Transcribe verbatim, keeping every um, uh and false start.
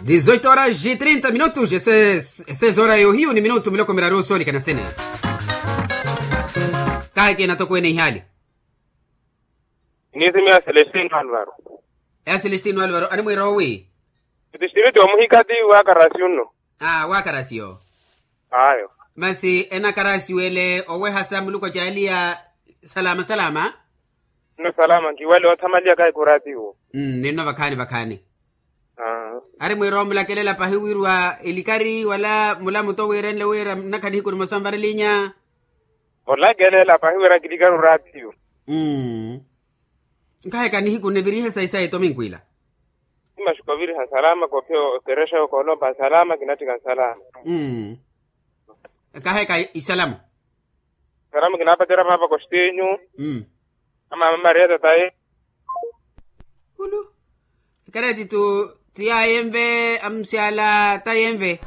Dizoito horas e trinta minutos ese ese zora yohiyu ni minutu miloko miraru soolikana sene. Kahi kina tokweene ihaali. Niisimiya celestino alvaro. Eya celestino alvaro animwiira owi? Celestino ti omuhikati wa karasi unno. Aa wa karasi yo. Ayo. Masi ena karasi wele owehasa muluku acaaliya. Salama salama. Nno salama nkiwale othamaliya kahi kuratiwo. Ninno vakhaani vakhaani. Ari mwiira omulakelela pahi wirwa elikari wala mulamuto wiirenle wira nnakha nihiku nimosa nvarelinya. Olakelela pahi wira kilikari oratiyo. Nkaheka nihiku nivirihe sayi sayi tominkwila. Imaxuka oviriha nsalama kophiya okerexa yokoolompa nsalama kinatthika nsalama. Nkaheka isalamo. Salamo kinapacerya paapa kostinyu. Amaama maria tataye. Ulu. Ekareti tu tiyayenve amusyala tayenve.